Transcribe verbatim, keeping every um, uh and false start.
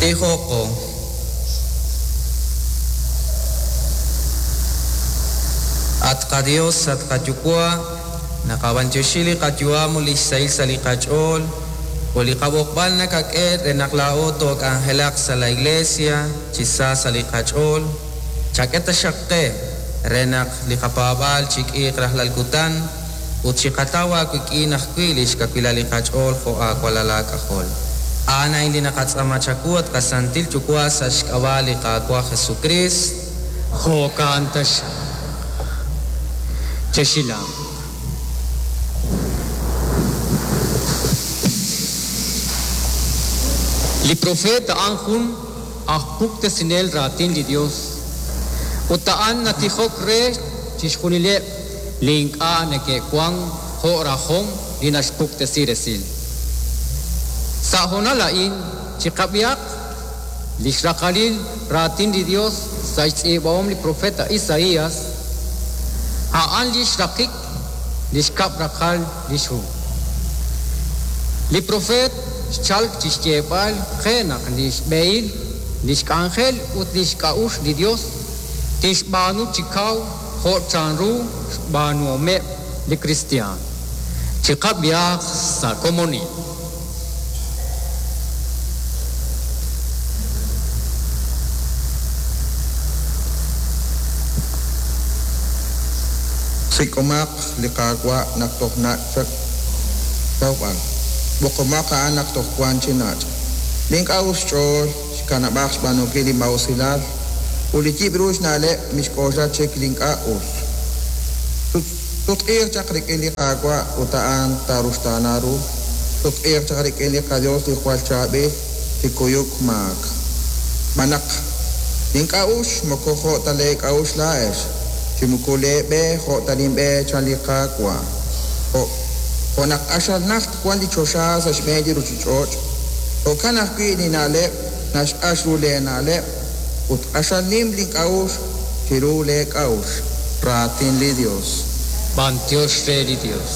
Tijoqo. At qaDios, at qaYuwa', naqab'antioxi li qayu'am ut li xsahil sa' li qach'ool ut li qab'oqb'al nakak'e re naq laa'o took'anjelaq sa' la iglesia chi sa sa' li qach'ool. Chak'e taxaq qe re naq li qapaab'aal chik'iiq rajlal kutan ut chiqataw aawik'in ajwi' li xkawilal li qach'ool jo' aawalal aak'ajol. A'an a'in li naqatz'aama chawu at qasantil Yuwa' sa' xk'ab'a' li Qaawa' Jesucrist. Jo'kan taxaq. Chexilanq. Li profeta a'an jun aj puktesinel raatin li Dios. Ut a'an natijok re chixjunileb' li ink'a' neke'wan jo' rajom li naxpuktesi resil. Sa' hoonal a'in chiqab'ihaq li xraqalil raatin li Dios sa' xtz'iib'ahom li profeta Isaías, a'an li xraqik li xkab' raqal li xhu. Li profet xchalk chi xyeeb'al qe naq li xb'ehil, li xk'anjel ut li xk'a'uxl li Dios tixb'aanu chi kaw jo' chanru xb'aanuhomeb' li kristiaan. Chiqab'ihaq sa' komonil. Sik'omaq li Qaawa' naq toj nach' chaq tawb'al. B'oqomaq a'an naq toj wan chi nach'. Li ink'a' us xch'ool xkanab'aq xb'aanunkil li maa'usilal ut li yib' ru xna'leb' mixk'oxla chik li ink'a' us. Sutq'iiq chaq rik'in li Qaawa' ut a'an taaruxtaana ru. Sutq'iiq chaq rik'in li qaDios li jwal chaab'il chi kuyuk maak. Xb'aan naq li ink'a' us moko jo' ta leek'a'uxl laa'ex, chi moko leeb'e jo' ta linb'e chan li Qaawa'. Jo' jo' naq q'axal najt wan li choxa sa' xb'een li ruuchich'och', jo'kan ajwi' li na'leb' naxq'ax ru leena'leb' ut q'axal nim link'a'uxl chiru leek'a'uxl. Raatin li Dios. B'antiox re li Dios.